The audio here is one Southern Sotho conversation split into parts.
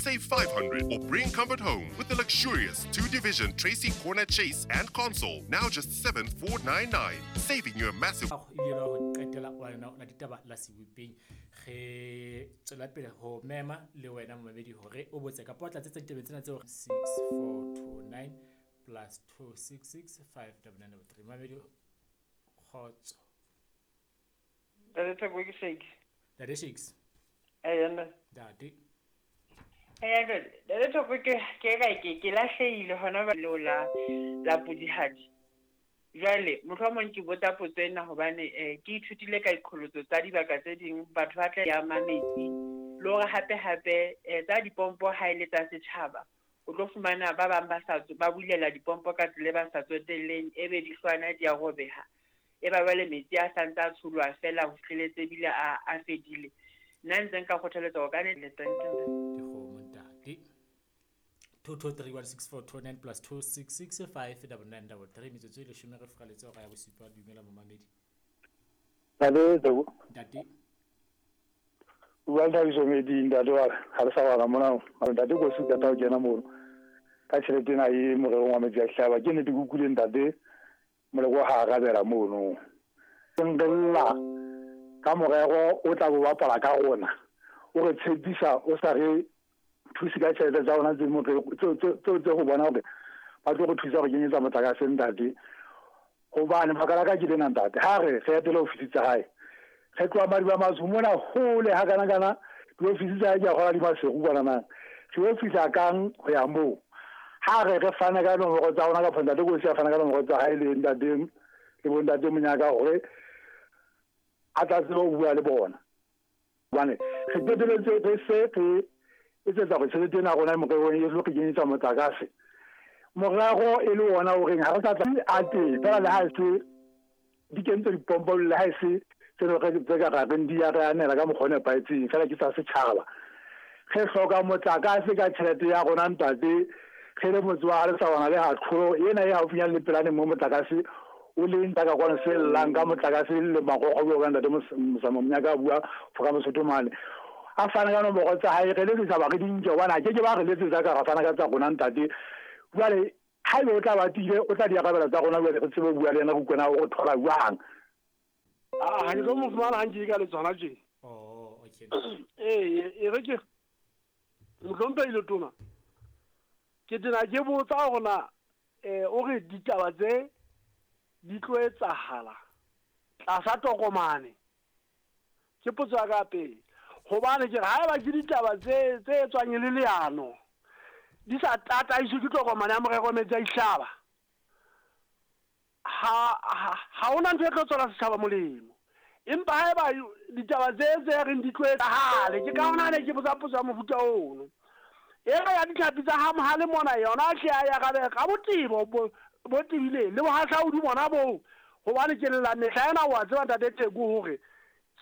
Save 500 or bring comfort home with the luxurious 2-division Tracy corner chase and console, now just 7499, saving you a massive. Ebile la ho qetela wa yona la ditaba la sebopeng re tswela pele ho mema le wena momamedi hore o botse kapa o tlatsetsa ditabeng tsena tseo 6429 plus 266 5993. Momamedi, kgotso. Ntate Theko, ke Shakes. Ntate Shakes. Ee, ntate. Ntate. Ee, ntate. Ntate Theko, ke lahlehile hona ba leo la Pudihadi. Jwale, mohlomong ke botsa potso ena hobane ke ithutile ka diqholotso tsa dibaka tse ding, batho ba tla ya metsi. Le hore hape hape tsa dipompo ha e le tsa setjhaba, o tlo fumana ba bang ba sa ba bulela dipompo ka tsela e ba sa tsotelleng, ebe dihlwana di a robeha. E ba jwale metsi a santse a tsholwa fela ho fihleletse ebile a fedile. Nna ntse nka kgothaletsa hore ka ne le teng. Dikgomo ntate. 2231649 plus 2665993 metsotso e leshome re furaletse hora ya bosupa. Dumela momamedi. Ntate Theko. Ntate. Bua le Thabiso Meding, ntate wa ha re sa bala mona. Ntate ko se qeta ho kena mono. Ka tjhelete ena e morerong wa metsi a hlaba. Ke nnete ke utlwile ntate Moleko ha arabela mono. Nrella ka morero o tla bo bapala ka rona. O re tshepisa o sa re thuse ka tjhelete tsa rona tse morero tse ho bona hore ba tlo re thusa ho kenyetsa motlakase ntate. Hobane makala ka ke lena ntate. Ha re re etele ofisi tsa hae. Re tloha Madiba Matsho mona hole ha kana kana diofisi tsa hae ke a kgola di Maseru kwana na. Re yo fihla kang ho ya moo. Ha re re fana ka nomoro tsa rona kapa ntate Kosi a fana ka nomoro tsa hae le ntate le bontate Monyaka hore a tla tsebe ho bua le bona. Hobane re qeteletse re se re etsetsa hore tjhelete ena ya rona e morerong e tlo re kenyetsa motlakase. Morero e le ona o reng ha re sa tla a teng fela le ha e se di kentse dipompo le ha e se tse ka reng di ya re anela ka mokgwa o nepahetseng fela ke tsa setjhaba. Re hloka motlakase ka tjhelete ya rona ntate. Re le motse wa Lesawana le Hatlholo ena e haufinyane le Pelane mo motlakase o leng ka kwano se llang ka motlakase le magogo bjo ka ntate Mosamo Monyaka a bua fo ka Mosotho mane. A fana ka nomoro tsa hae re letsetsa ba re di nke hobane a ke ke ba re letsetsa ka ra fana ka tsa rona ntate. Jwale haebe o tla ba tiile o tla di arabela tsa rona jwale re tsebe ho bua le yena re utlwe na o re thola jwang. Ha ke tlo mo fumana ha nke ka le tsona tje. Oh, okay. Ee, e re ke mohlomphehi Letona. Ke tena ke botsa hore na o re ditaba tse di tlo etsahala tlasa tokomane. Ke potso ya ka pele. Hobane ke re haeba ke ditaba tse etswang e le leano di sa tataiswe ke tokomane ya morero metsi a dihlaba, ha hona ntho e tlo tswela setjhaba molemo. Empa haeba ditaba tse reng di tlo etsahale, ke ka hona ne ke botsa potso ya mofuta ono. Ena ya ditlhapi tsa ha Mohale mona yona hle a ya rabe ka botebo bo tebileng le bohahlaudi bona boo, hobane ke lla mehla ena wa tseba ntate Theko hore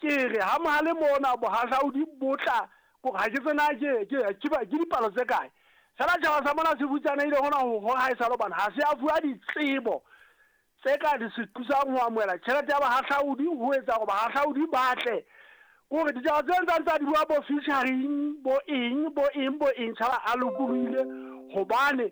ke re ha Mohale mona bohahlaudi bo tla kore ha ke tsena ke dipalo tse kae fela tjhaba sa mona se futsanehile hona ho ha e sa le hobane ha se a fuwa ditsebo tse ka di se thusang ho amohela tjhelete ya bahahlaudi ho etsa hore bahahlaudi ba tle. Kore ditaba tse ntsang tsa di bua bo featuring bo eng bo eng bo eng tjhaba a lokolohile hobane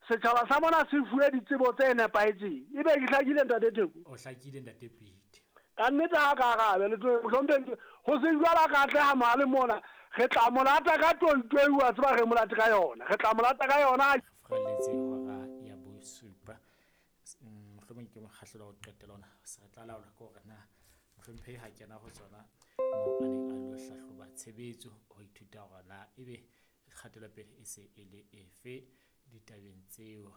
setjhaba sa mona se fuwe ditsebo tse nepahetseng. Ebe ke hlakile ntate Theko? O hlakile ntate Pete. Ka nnete ha ka arabe le tlo hlomphe ho se jwalo ka atleha Mohale mona re tla molata ka toitoi wa tseba re molate ka yona. Re tla molata ka yona. Furaletse hora ya bosupa. Mohlomong ke mokgahlelo wa ho qetela ona. Se re tla laola ke hore na mohlomphehi ha kena ho tsona moo a neng a lo hlahloba tshebetso ho ithuta hore na ebe kgatelopele e se e le efe ditabeng tseo.